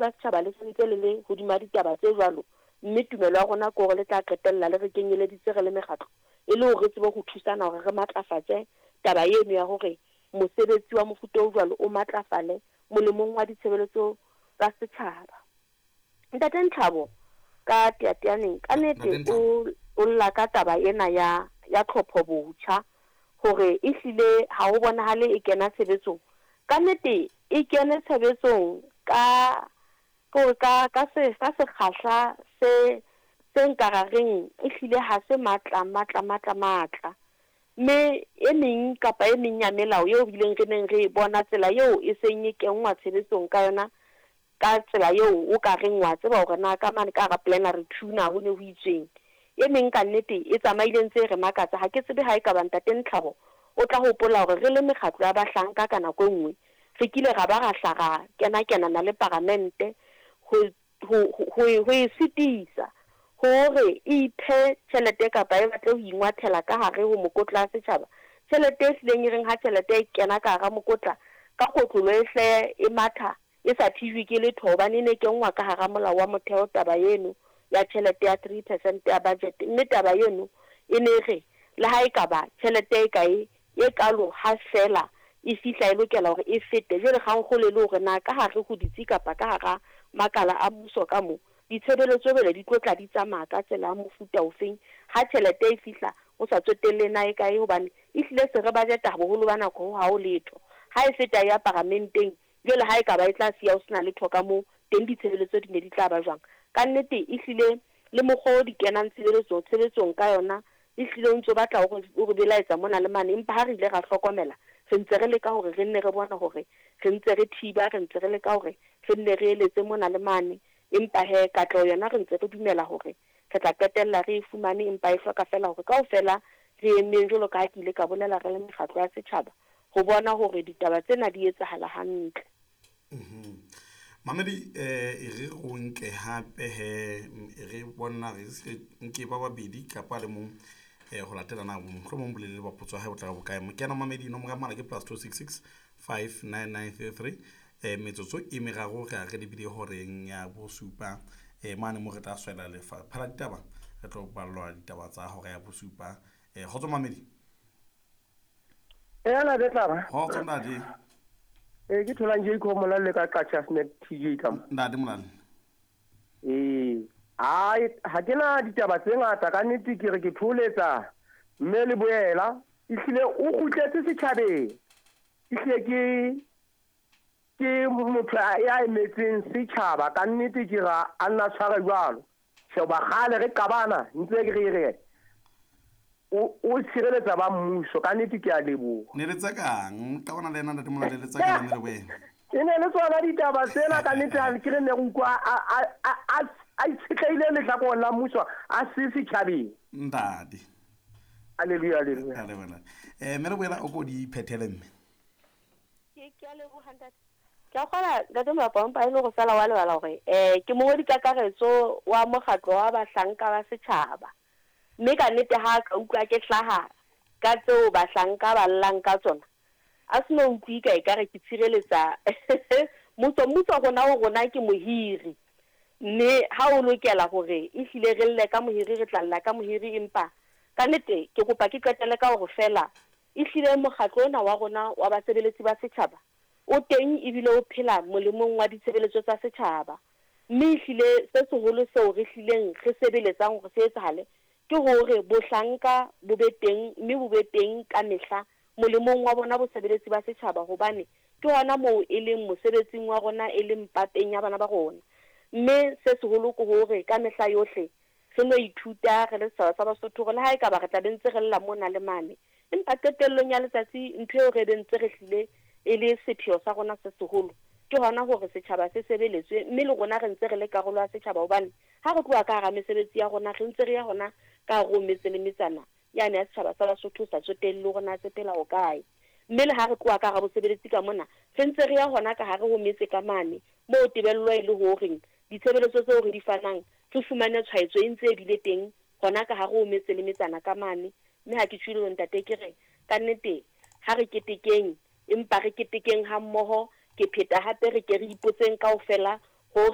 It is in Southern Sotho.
ba setjhaba le sentse le le hodima ditaba tse jwalo, mme tumelo ya rona ke hore le tla qetella le re kenyeleditse re le mekgatlo e le hore re tsebe ho thusana hore re matlafatse taba eno ya hore mosebetsi wa mofuta o jwalo o matlafale molemong wa ditshebeletso tsa setjhaba. Ntate Ntlhabo ka Teyateyaneng ka nete o o lla ka taba ena ya ya tlhopho botjha hore ehlile ha ho bonahale e kena tshebetsong. Ka nete e kene tshebetsong ka ke hore ka ka se ka sekgahla se se nka ra reng ehlile ha se matla matla matla matla. Mme e meng kapa e meng ya melao eo re ileng re neng re e bona tsela eo e seng e kenngwa tshebetsong ka yona Ka tsela eo o ka reng wa tseba hore na ka mane ka hara plenary two na ho ne ho itsweng. E meng ka nnete e tsamaile e ntse e re makatsa. Ha ke tsebe ha ekaba Ntate Ntlhabo o tla hopola hore re le mekgatlo ya bahlanka ka nako e nngwe re kile ra ba ra hla ra kena-kenana le Paramente ho, ho, ho, ho e sitisa hore e iphe tjhelete kapa e batle ho ingwathela ka hare ho mokotla wa setjhaba, tjhelete e hlileng e reng ha tjhelete e kena ka hara mokotla ka kotlolo e hle e matha e sa thijwe ke letho hobane e ne e kenngwa ka hara molao wa motheo taba eno ya tjhelete ya 3 percent ya budget mme taba eno e ne e re le ha ekaba tjhelete e kae e kalo ha feela e fihla e lokela hore e fete jwale kgangkgolo e le hore na ka hare ho ditsi kapa ka hara makala a mmuso ka mo ditshebeletso jwale di tlo tla di tsamaya ka tsela ya mofuta ofeng ha tjhelete e fihla ho sa tsotelle na e kae hobane ehlile se re budgeta boholo ba nako ho ha ho letho ha e feta e ya paramenteng. Jwale ha ekaba e tla siya ho sena letho ka moo, teng ditshebeletso di ne di tla ba jwang? Ka nnete, ehlile, le mokgwa o di kenang tshebeletso, tshebetsong ka yona, ehlile o ntso batla o re, o re belaetsa mona le mane. Empa ha re ile ra hlokomela, re ntse re leka hore re nne re bone hore re ntse re thiba, re ntse re leka hore re nne re eletse mona le mane. Empa he, katleho yona re ntse re dumela hore re tla qetella re e fumane, empa e hloka feela hore kaofela re emeng, jwalo ka ha ke ile ka bolela, re le mekgatlo ya setjhaba, ho bona hore ditaba tsena di etsahala hantle. Mamedi e re o nke hape he e re bona re se nke ba babedi kapa le mong ho latelana mohlomong bolelele ba potso ya hae bo tla ba bokae. Mokena mamedi nomoro ya mohala ke +266 59933 metsotso e meraro re a re lebile horeng ya bosupa mane mo re tla swela lefapha la ditaba re tlo ballwa ditaba tsa hora ya bosupa. Kgotso mamedi. Ela be tlaba. Kgotso ntate. Ee, ke tholang Jacob Molale ka Qacha's Nek TJ ka mo. Ntate Molale. Ee, ai ha ke na ditaba tse ngata ka nnete ke re ke tholetsa mme le boela ehlile o kgutletse setjhabeng. Ehlile ke ke motho ya emetseng setjhaba ka nnete ke ra a nna tshware jwalo. Sheba kgale re qabana ntse ke re re o tshireletsa ba mmuso ka nnete ke a leboha. Ne le tsa kang? Qabana le yena ntate Molale le tsa kang mme le boela? E ne le tsona ditaba tsena ka nnete ha ke re ne re utlwa a itshetlehile lehlakoreng la mmuso a se setjhabeng. Ntate. Hallelujah, hallelujah. Hallelujah. Mme re boela o ko di phethele mme. Ke a leboha ntate. Ke a kgola ntate Molapo empa e le go fela wa lebala hore ke mongwedi kakaretso wa mokgatlo wa bahlanka ba setjhaba. Mme ka nnete ha ka utlwa ke hlaha ka tseo bahlanka ba llang ka tsona, a se no utlwe ka ekare ke tshireletsa mmuso. Mmuso rona ho rona ke mohiri, mme ha o lokela hore ehlile re lle ka mohiri, re tla lla ka mohiri. Empa ka nnete ke kopa ke qetelle ka hore feela ehlile mokgatlo ona wa rona wa basebeletsi ba setjhaba o teng ebile o phela molemong wa ditshebeletso tsa setjhaba. Mme ehlile se seholo seo re hlileng re sebeletsang hore se etsahale ke hore bohlanka bo be teng mme bo be teng ka mehla molemong wa bona bosebeletsi ba setjhaba, hobane ke hona moo e leng mosebetsing wa rona, e leng pateng ya bana ba rona. Mme se seholo ke hore ka mehla yohle re no ithuta re le setjhaba sa Basotho hore le ha ekaba re tla be ntse re lla mona le mane, empa qetellong ya letsatsi ntho eo re be ntse re hlile e le sepheo sa rona se seholo ke hona hore setjhaba se sebeletswe, mme le rona re ntse re le karolo ya setjhaba, hobane ha re tloha ka hara mesebetsi ya rona re ntse re ya hona ka hare ho metse le metsana yane ya setjhaba sa Basotho, sa tsotelle hore na se phela ho kae. Mme le ha re tloha ka hara bosebeletsi ka mona re ntse re ya hona ka hare ho metse ka mane moo tebello e le horeng ditshebeletso tseo re di fanang re fumane tshwaetso e ntse e bile teng hona ka hare ho metse le metsana ka mane. Mme ha ke tjhwile ntate, ke re ka nnete ha re ketekeng, empa re ketekeng ha mmoho. Ke pheta hape re ke re ipotseng kaofela.